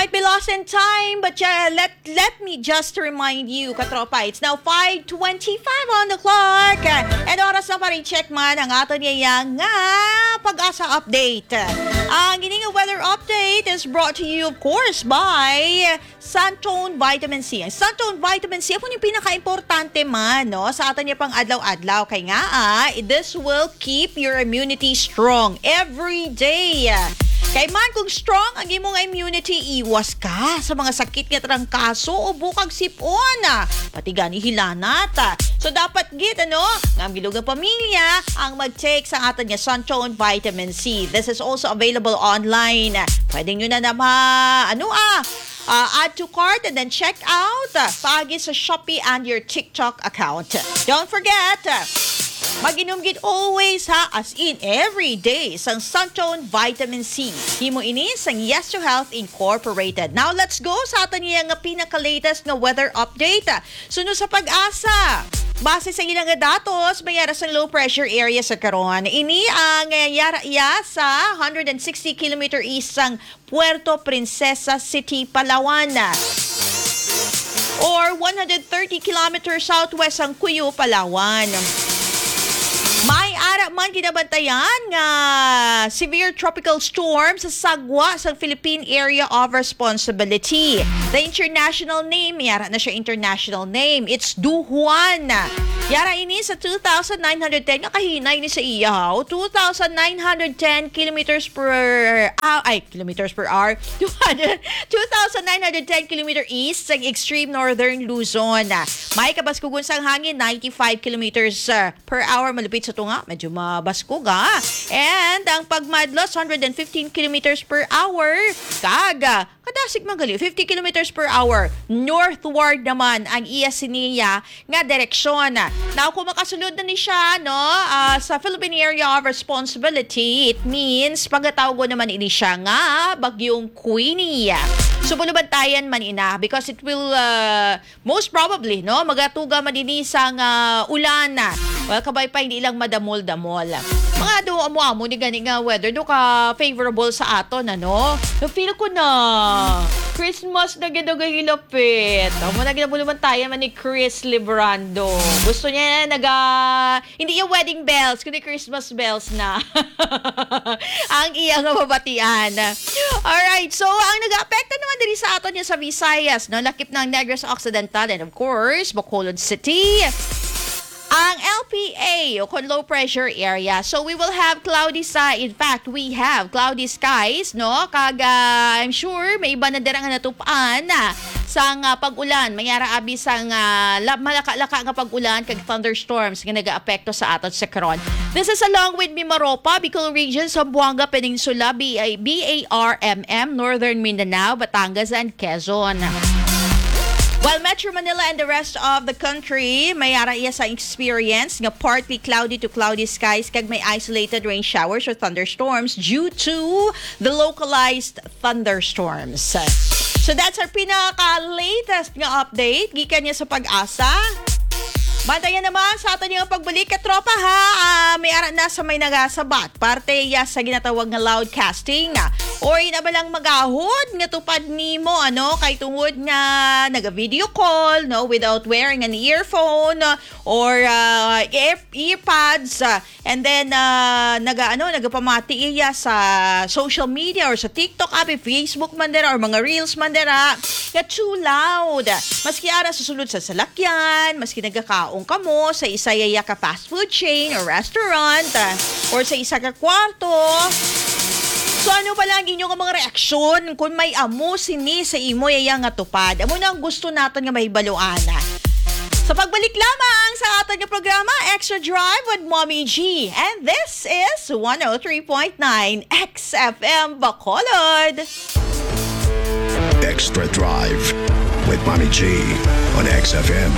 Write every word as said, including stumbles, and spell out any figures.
Be lost in time, but yeah, let let me just remind you, katropa, it's now five twenty-five on the clock. And oras na pa rin check man ang aton niya nga pag-asa update. Ang ining weather update is brought to you, of course, by Santone Vitamin C. Ang Santone Vitamin C, amo ni pinaka-importante man, no, sa aton niya pang adlaw-adlaw. Kay nga, ah, this will keep your immunity strong every day. Kay man, kung strong ang imong immunity, iwas ka sa mga sakit nga trangkaso o bukag sipon, ah, pati gani hilanat. So, dapat gid, ano, nga ang bilog nga pamilya ang mag-take sa aton nga Santone Vitamin C. This is also available online. Pwede nyo na na ma-, ano, ah, ah, add to cart and then check out, ah, paagi sa Shopee and your TikTok account. Don't forget, ah, mag-inom gid always, ha, as in every day, sang Santone Vitamin C. Himo ini sang Yes to Health Incorporated. Now, let's go sa aton niya nga pinaka-latest nga weather update. Suno sa PAGASA. Base sa ilang nga datos, may ara sang low pressure area sa karon. Ini ang, eh, yara iya sa hundred and sixty kilometer east sang Puerto Princesa City, Palawan, or one hundred thirty kilometers southwest sang Cuyo, Palawan. May ara man ginabantayan nga severe tropical storm sa sagwa sang Philippine Area of Responsibility. The international name, yara na siya international name, it's Duhuan. Yara ini sa two thousand nine hundred ten, nga kahinay ni sa iya, ha? O, two thousand nine hundred ten kilometers per, ah, ay, kilometers per hour. Two hundred, two thousand nine hundred ten kilometer east sang extreme northern Luzon. May kabaskugon sang hangin, ninety-five kilometers, uh, per hour. Malupit sa tunga, medyo mabaskog, ah. And ang pagmadlos, hundred and fifteen kilometers per hour. Kag, ah, kadasig man gali, fifty kilometers per hour. Northward naman ang iya siniya nga direksyon. Now, kung makasulod na ni siya, no, ah, sa Philippine Area of Responsibility, it means pagatawgon naman ini siya nga Bagyong Queenie. So, bulubantayan man ina because it will, ah, most probably, no, magatuga man ini sang ulan. Well, kabay pa hindi lang madamol-damol. Mga do amo-amo ni gani nga weather do ka favorable sa aton, ano? Feel ko na Christmas na gid ang hilapit. Amo na gid ang bulubantayan man ni Chris Librando. Gusto niya na naga, hindi yung wedding bells, kundi Christmas bells na. Ang iya nga mabatian. Alright, so ang nag-aapekto naman diri sa aton niya sa Visayas, no, lakip ng Negros Occidental and of course, Bacolod City. Ang L P A o kon low pressure area. So we will have cloudy sa, in fact, we have cloudy skies, no? Kag, ah, I'm sure may iba na dira nga natupan, ah, sang, ah, pag-ulan. May ara abi sang, ah, la-, malaka-laka nga pag-ulan kag thunderstorms nga nagaapekto sa aton sa karon. This is along with Mimaropa, Bicol Region, Zamboanga Peninsula, B A, B A R M M, Northern Mindanao, Batangas, and Quezon. While Metro Manila and the rest of the country, may ara iya sa experience nga partly cloudy to cloudy skies kag may isolated rain showers or thunderstorms due to the localized thunderstorms. So that's our pinaka-latest nga update gikan niya sa PAGASA. Bantayan naman sa aton nga pagbalik, katropa, ha. Ah, may ara na sa may nagasabat parte ya sa ginatawag nga loud casting, ah, or ina ba lang magahod nga tupad nimo, ano, kay tungod nga naga-video call, no, without wearing an earphone, ah, or, ah, ear-, earpods, ah, and then, ah, naga, ano, nagapamati iya sa social media or sa TikTok, abi, Facebook man dira, or mga reels man dira, nga too loud. Maski ara sa sulod sa salakyan, maski nagakaon kamo sa isa ya ka fast food chain or restaurant, ah, or sa isa ka kwarto. So, ano ba lang inyo nga mga reaksyon kung may amo sini sa imo ya nga tupad? Amo na ang gusto naton nga mahibaluan. Sa pagbalik lamang sa aton nga programa, Extra Drive with Mommy G. And this is one oh three point nine X F M Bacolod. Extra Drive with Mommy G on X F M.